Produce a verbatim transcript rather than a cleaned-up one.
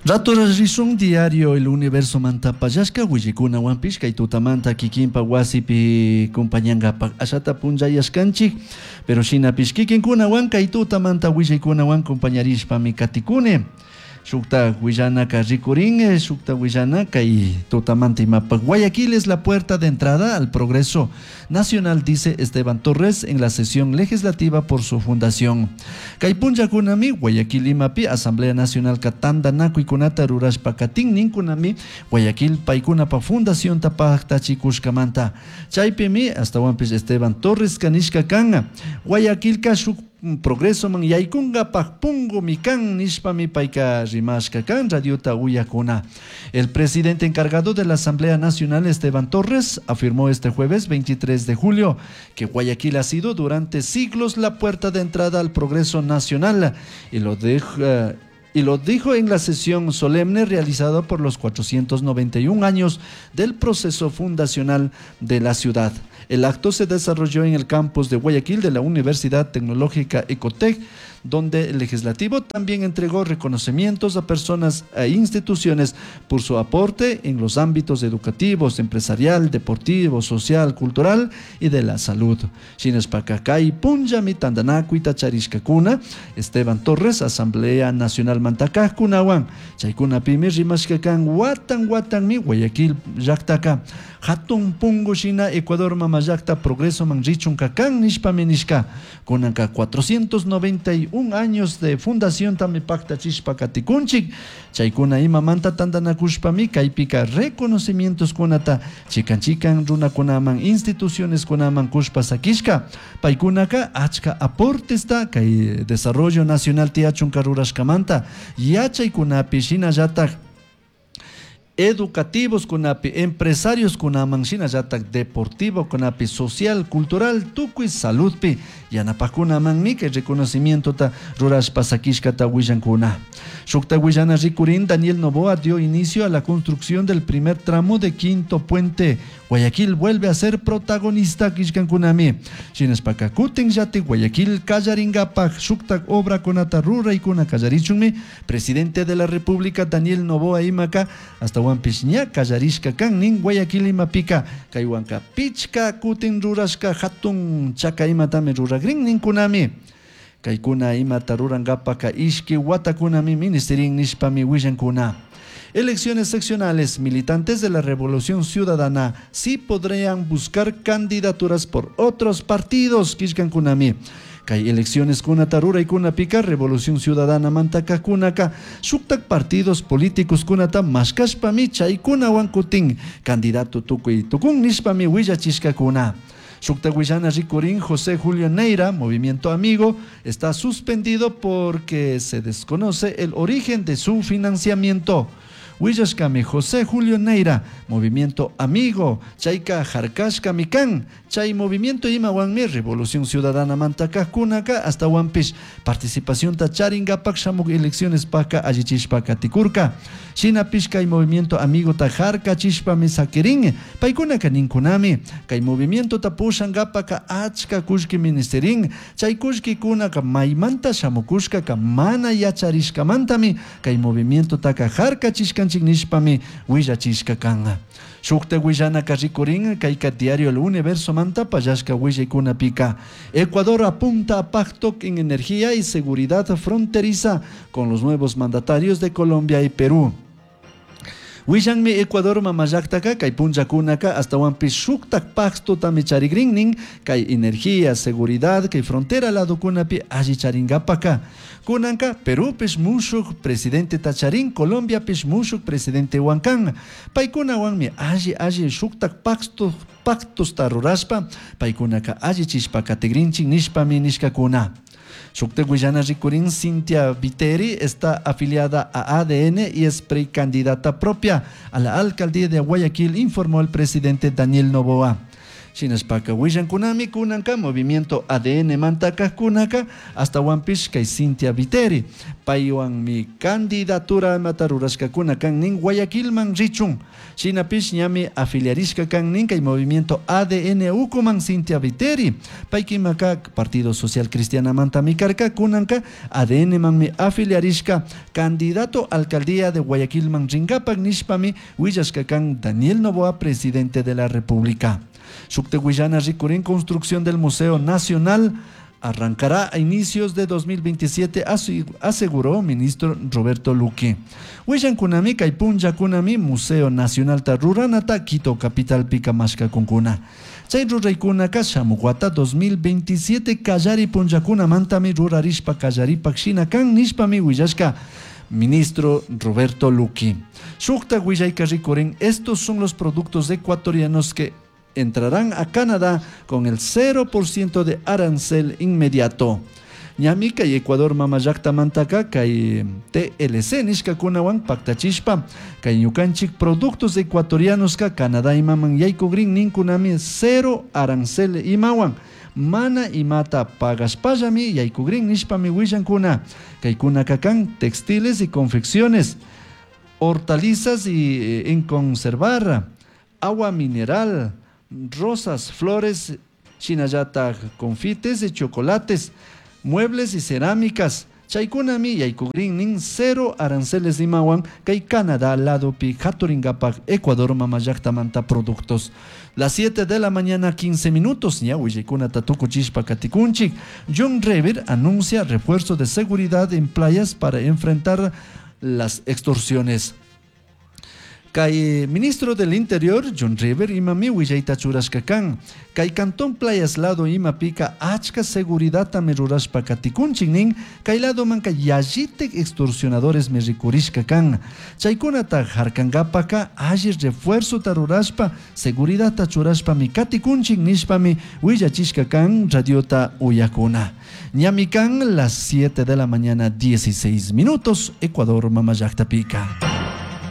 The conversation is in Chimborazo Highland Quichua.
Rato rishun diario El Universo mantapallashka willaykunawanpish kay tutamanta kikinpa wasipi kumpañankapak ashata punllayashkanchik, pero shinapish kikinkunawan kay tutamanta willaykunawan kumpañarishpami katikuni. Shukta willanaka rikurin, shukta willana kay tutamanta imapak. Guayaquil es la puerta de entrada al progreso nacional, dice Esteban Torres en la sesión legislativa por su fundación. Kay punllakunami Guayaquil imapi Asamblea Nacional tantanakuikunata rurashpa katin ninkunami Guayaquil paykunapa fundación paktachikushkamanta. Chaypimi astawanpish Esteban Torres kanishka kan. Guayaquilka shuk progreso man yaykunkapak pungumi kan nishpami payka rimashka kan radiota uyakuna. El presidente encargado de la Asamblea Nacional, Esteban Torres, afirmó este jueves veintitrés de julio que Guayaquil ha sido durante siglos la puerta de entrada al progreso nacional y lo deja, y lo dijo en la sesión solemne realizada por los cuatrocientos noventa y un años del proceso fundacional de la ciudad. El acto se desarrolló en el campus de Guayaquil de la Universidad Tecnológica Ecotec, donde el legislativo también entregó reconocimientos a personas e instituciones por su aporte en los ámbitos educativos, empresarial, deportivo, social, cultural y de la salud. Shinashpaka punllami tantanakuita charishkakuna, Esteban Torres, Asamblea Nacional mantakajkunawan, chaykunapimi rimashkakan watan watanmi Guayaquil llaktaka hatun pungu shina Ecuador mama llakta progreso man richun kakan nishpami nishka. Kunanka cuatrocientos noventa y un años de fundación tami paktachishpa katikunchik, chaykuna imamanta tantanakushpami kaypika reconocimientos kunata chikan chikan runakunaman instituciones kunaman kushpa sakishka, paykunaka achka aportesta kay desarrollo nacional tiyachunka rurashkamanta yachaykunapi shinallatak educativos kunapi, empresarios kunaman shinallatak deportivo kunapi, social, cultural, tukuy saludpi yanapakunamanmi kay reconocimientota rurashpa sakishkata willankuna. Shukta willana rikurin, Daniel Noboa dio inicio a la construcción del primer tramo de Quinto Puente. Guayaquil vuelve a ser protagonista kishkankunami. Shinashpaka kutin yati Guayaquil kallaringapak shuktak obra kunata ruraykuna kallarichunmi presidente de la República Daniel Noboa imaka hasta wanpish ña kallarishka kan nin Guayaquil imapika kaywanka pichka kutin rurashka hatun chaka imatami ruragrin ninkunami. Kaykuna imata rurankapaka ishki watakunami ministerin nishpami willankuna. Elecciones seccionales, militantes de la Revolución Ciudadana sí podrían buscar candidaturas por otros partidos, kishkankunami. Kay elecciones kunata ruraykunapika Revolución Ciudadana mantaka kunaka shuktak partidos políticos kunata mashkashpami chaykunawan kutin candidato tukuy tukun nishpami willachishkakuna. Shukta willana rikurin José Julio Neira, Movimiento Amigo, está suspendido porque se desconoce el origen de su financiamiento. Willashkami José Julio Neira, Movimiento Amigo, Chayka Harkashka Mikan, Chay Movimiento Imawanmi, Revolución Ciudadana Mantaka Kunaka, hasta Wampish, participación Tacharingapak Shamuk elecciones Paka Allichishpaka Tikurka, Shina Pishka y Movimiento Amigo Tajarka Chishpa Misakirin, Paikunaka Ninkunami, Kay Movimiento Tapushangapaka Achka Kushki Ministerin, Chay Kushki Kunaka Maymanta Shamukushka Kamana Yacharishka Mantami, Kay Movimiento Taka Harka Chishkan nishpami willachishka kan. Shukta willanaka rikurin kayka diario El Universo manta pallashka willaykunapika. Ecuador apunta a pacto en energía y seguridad fronteriza con los nuevos mandatarios de Colombia y Perú. Willanmi Ecuador mamallaktaka kay punllakunaka hasta wanpish shuktak pacto tami charigrinnin kay energía, seguridad, kay frontera ladokunapi alli charingapaka. Kunanka Perúpish mushuk presidente tacharin, Colombiapish mushuk presidente huancan. Paykunawanmi alli alli shuktak pacto, pactos tarurashpa, paykunaka alli chishpa katigrinchin nishpami nishkakuna. Shukta Guyana Ricurín Cintia Viteri está afiliada a A D N y es precandidata propia a la alcaldía de Guayaquil, informó el presidente Daniel Noboa. Shinashpaka willankunami kunanka movimiento A D N mantakajkunaka astawanpish kay Cintia Viteri paywanmi candidatura mata rurashkakuna kan nin Guayaquilman richun. Shinapish ñami afiliarishka kan nin kay movimiento A D N ukuman Cintia Viteri. Paykimaka Partido Social Cristianamantami karka, kunanka A D N manmi afiliarishka, candidato alcaldía de Guayaquilman rinkapak nishpami willashka kan Daniel Noboa, presidente de la República. Shuktak willana rikurin, construcción del Museo Nacional arrancará a inicios de dos mil veintisiete, aseguró ministro Roberto Luque. Willankunami kay punllakunami Museo Nacional ta ruranata Quito capitalpi mashkakunkuna. Chay ruraykunaka shamuk wata dos mil veintisiete kallari punllakunamantami rurarishpa kallaripak shina kan nishpami willashka ministro Roberto Luque. Shuktak willayka rikurin, estos son los productos ecuatorianos que entrarán a Canadá con el cero por ciento de arancel inmediato. Ñami kay Ecuador mamallaktamantaka kay T L C nishkakunawan paktachishpa kay ñukanchik productos ecuatorianos ka Canadá imaman yaykugrin ninkunami cero arancel imawan, mana imata pagashpallami yaykugrin nishpami willankuna. Kaykunaka kan textiles y confecciones, hortalizas y eh, en conservar, agua mineral, rosas, flores, shinallatak confites y chocolates, muebles y cerámicas. Chaykunami yaykugrin nin cero aranceles imawan kay Canadá ladopi haturingapak Ecuador mamallaktamanta productos. Las siete de la mañana quince minutos, ña willaykunata tukuchishpa katikunchik. John Rever anuncia refuerzo de seguridad en playas para enfrentar las extorsiones. Kay ministro del Interior, John River, imami willayta churashka kan. Kay Cantón Playas lado imapika achka seguridadtami rurashpa katikunchik nin, kay ladomanka yallitik extorsionadores mi rikurishka kan. Chaykunata harkankapaka alli refuerzota rurashpa, seguridadta churashpami katikunchik nishpami willachishka kan radiota uyakuna. Ñami kan las siete de la mañana dieciséis minutos, Ecuador mamallakta pika.